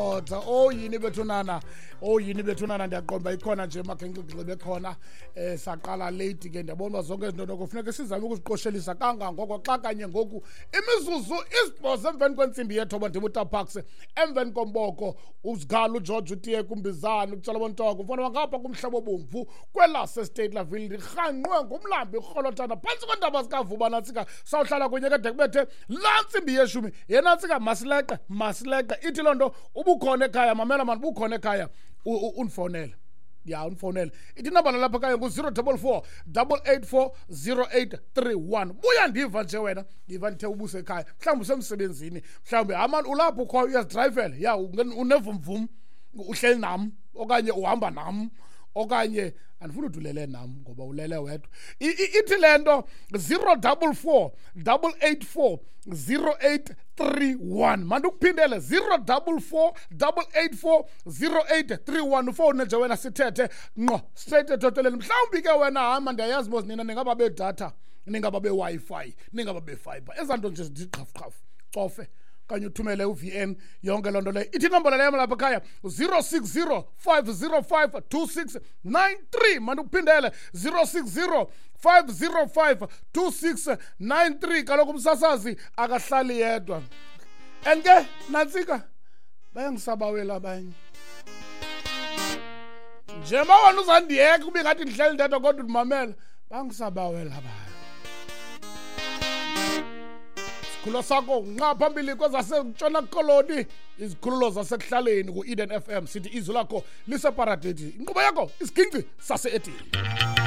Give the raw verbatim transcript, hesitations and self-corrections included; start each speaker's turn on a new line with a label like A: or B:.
A: Oh yini bethunana, oh yini bethunana, ndiyaqonda ikhona nje makhenxe bekhona. Eh saqala late ke, ndiyabona zonke izinto noko kufuneka sizame ukuziqoshelisa kangangoko xa kanye ngoku imizuzu isibhozo emveni kwentsimbi yethoba. Ndibuta Parks emveni komboko uzigala uGeorge utiye kumbizana utshala bontoko mfana wangapha kumhlaba obomvu kwelase Steytlerville, ndirhanqwe ngumlambi urholotana phantsi kweentaba zikaVuba. Nantsika sawuhlala kunye kade kubethe laa ntsimbi yeshumi. Yena ntsika masileqe masileqe ithi loo nto ubukhona ekhaya, mamela mani, ubukhona ekhaya, undifowunele ya undifowunele. Ithi inambala lapha ekhaya ngu-zero double four double eight four zero eight three one. Buya ndiva nje wena, ndiva ndithe ubusekhaya, mhlawumbi usemsebenzini, mhlawumbi amani ulapho ukhoyo uyazidrayivela, ya unevumvum, uhleli nam okanye uhamba nam okanye andifuni uthi ulele nam ngoba ulele wedwa. Ithi le nto zero double four double eight four zero eight three one. Mandikuphindele, zero double four double eight four zero eight three one. Ufowune nje wena sithethe ngqo straight ethoteleni. Mhlawumbi ke wena hama, ndiyayazi mos nina ningaba bedatha, ningaba be-Wi-Fi, ningaba be-fiber, ezaa nto nje zithi qhafu qhafu, cofe okanye uthumele u-V N, yonke loo nto leyo. Ithi inombolo leyo lapha ekhaya zero six zero five zero five two six nine three. Mandikuphindele, zero six zero five zero five two six nine three. Kaloku umsasazi akahlali yedwa. And ke nantsika bayangisabawela abanye njengoba wena uzandiyeka ube ngathi ndihleli ndedwa kodwa undimamela, bangisabawela abanye. Isikhululo sakho nqa phambili kwezasentshona koloni, izikhululo zasekuhlaleni ku-Eden F M, sithi izwi lakho liseparadesi, inkqubo yakho isiginci sase-Edeni.